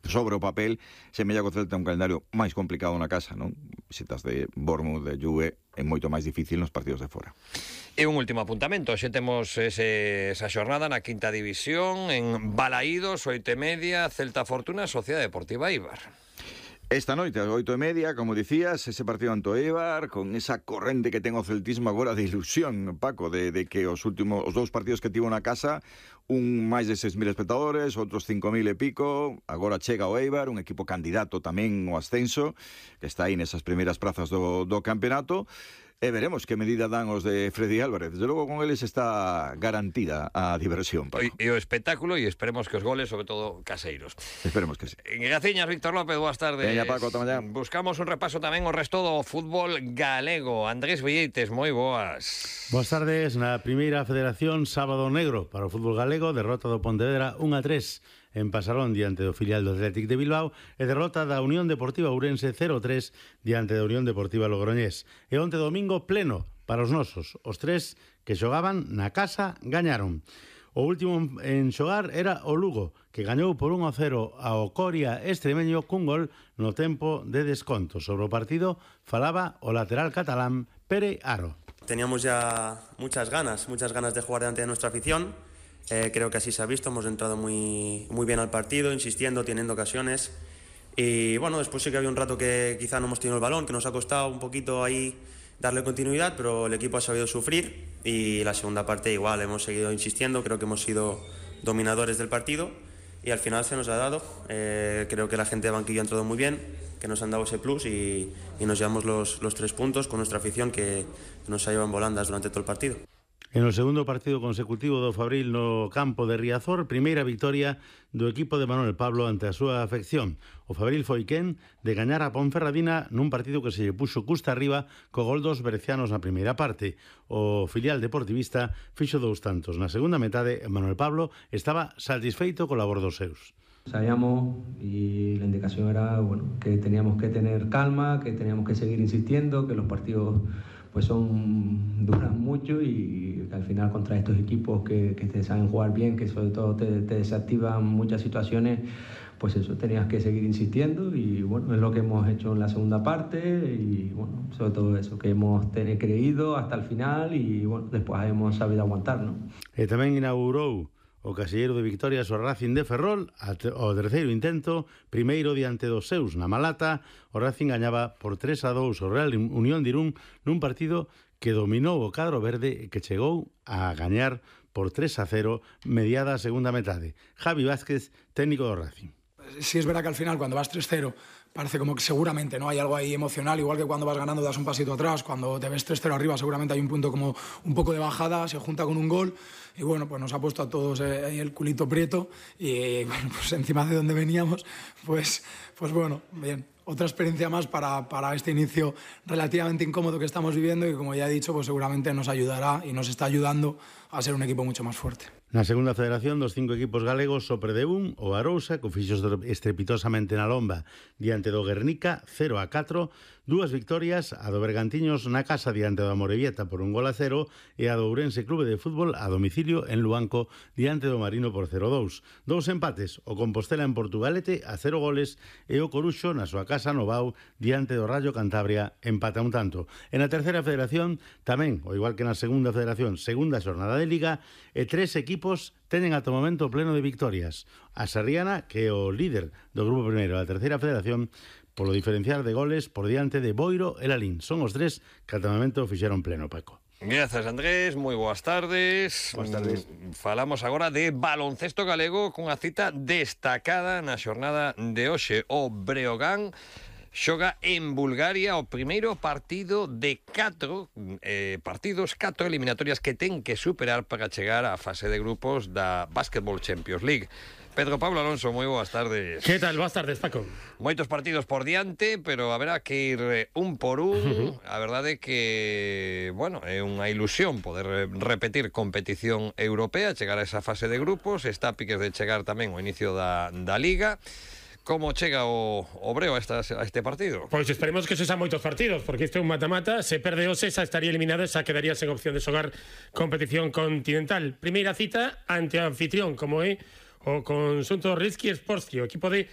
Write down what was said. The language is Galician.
sobre o papel, semella que o Celta é un calendario máis complicado na casa, non? Visitas de Bournemouth, de Juve, é moito máis difícil nos partidos de fora. E un último apuntamento, xe temos esa xornada na quinta división en Balaídos, 8:30, Celta Fortuna, Sociedade Deportiva Eibar. Esta noite, ás 8:30, como dicías, ese partido ante o Eibar, con esa corrente que ten o celtismo agora de ilusión, Paco, de que os dous partidos que tivo na casa, un máis de 6.000 espectadores, outros 5.000 e pico, agora chega o Eibar, un equipo candidato tamén ao ascenso, que está aí nesas primeiras prazas do campeonato, e veremos que medida dan os de Freddy Álvarez. Desde logo con eles está garantida a diversión, Paco. E o espectáculo, e esperemos que os goles, sobre todo, caseiros. Esperemos que sí. Graciñas, Víctor López, boas tardes. Veña, Paco, ata mañá. Buscamos un repaso tamén o resto do fútbol galego. Andrés Villeites, moi boas. Boas tardes. Na primeira federación, sábado negro para o fútbol galego, derrota do Pontevedra 1-3 en Pasarón diante do filial do Athletic de Bilbao e derrota da Unión Deportiva Ourense 0-3 diante da Unión Deportiva Logroñés. E onte domingo pleno para os nosos. Os tres que xogaban na casa gañaron. O último en xogar era o Lugo, que gañou por 1-0 ao Coria extremeño cun gol no tempo de desconto. Sobre o partido falaba o lateral catalán Pere Aro. Teníamos ya muchas ganas de jugar delante de nuestra afición. Creo que así se ha visto, hemos entrado muy bien al partido, insistiendo, teniendo ocasiones. Y bueno, después sí que había un rato que quizá no hemos tenido el balón, que nos ha costado un poquito ahí darle continuidad, pero el equipo ha sabido sufrir y la segunda parte igual, hemos seguido insistiendo, creo que hemos sido dominadores del partido y al final se nos ha dado. Creo que la gente de banquillo ha entrado muy bien, que nos han dado ese plus y nos llevamos los 3 puntos con nuestra afición que nos ha llevado en volandas durante todo el partido. En o segundo partido consecutivo do Fabril no campo de Riazor, primeira victoria do equipo de Manuel Pablo ante a súa afección. O Fabril foi quen de gañar a Ponferradina nun partido que se lle puxo custa arriba co gol dos berecianos na primeira parte. O filial deportivista fixo 2 tantos. Na segunda metade, Manuel Pablo estaba satisfeito co labor dos seus. Sabíamos y la indicación era que teníamos que tener calma, que teníamos que seguir insistiendo, que los partidos pues duran mucho y que al final contra estos equipos que te saben jugar bien, que sobre todo te desactivan muchas situaciones, pues eso, tenías que seguir insistiendo y bueno, es lo que hemos hecho en la segunda parte y bueno, sobre todo eso, que hemos creído hasta el final y bueno, después hemos sabido aguantar, ¿no? E tamén inaugurou o casilleiro de victorias o Racing de Ferrol ao terceiro intento, primeiro diante dos seus na Malata. O Racing gañaba por 3-2 o Real Unión de Irún nun partido que dominou o cadro verde e que chegou a gañar por 3-0 mediada a segunda metade. Javi Vázquez, técnico do Racing. Sí, es verdad que al final cuando vas 3-0 parece como que seguramente no hay algo ahí emocional, igual que cuando vas ganando das un pasito atrás, cuando te ves 3-0 arriba seguramente hay un punto como un poco de bajada, se junta con un gol y bueno, pues nos ha puesto a todos ahí el culito prieto y bueno, pues encima de donde veníamos, pues bueno, bien. Otra experiencia más para este inicio relativamente incómodo que estamos viviendo y como ya he dicho, pues seguramente nos ayudará y nos está ayudando a ser un equipo mucho más fuerte. Na segunda federación dos 5 equipos galegos o Predebún, o Arousa, que fixo estrepitosamente na lomba diante do Guernica 0-4, 2 victorias, a do Bergantiños na casa diante do Amorebieta por 1-0 e a do Ourense Clube de Fútbol a domicilio en Luanco diante do Marino por 0-2. 2 empates, o Compostela en Portugalete a 0 goles e o Coruxo na súa casa no Bau diante do Rayo Cantabria empata un tanto. En a terceira federación tamén, o igual que na segunda federación, segunda xornada de Liga, e 3 equipos teñen ata o momento pleno de victorias. A Sarriana, que é o líder do grupo primeiro da terceira federación, polo diferencial de goles por diante de Boiro e Lalín. Son os 3 que ata o momento fixeron pleno, Paco. Grazas, Andrés, moi boas tardes. Boas tardes. Falamos agora de baloncesto galego cunha cita destacada na xornada de hoxe. O Breogán xoga en Bulgaria o primeiro partido de 4 partidos, 4 eliminatorias que ten que superar para chegar á fase de grupos da Basketball Champions League. Pedro Pablo Alonso, moi boas tardes. Que tal? Boas tardes, Paco. Moitos partidos por diante, pero haberá que ir un por un. A verdade é que, bueno, é unha ilusión poder repetir competición europea, chegar a esa fase de grupos. Está a piques de chegar tamén o inicio da Liga. Como chega o Breo a este partido? Pois esperemos que se xa moitos partidos, porque isto é un mata-mata. Se perde hoxe, xa estaría eliminado, xa quedaría sen opción de xogar competición continental. Primeira cita ante o anfitrión, como é o conxunto Rilski Sportski, o equipo de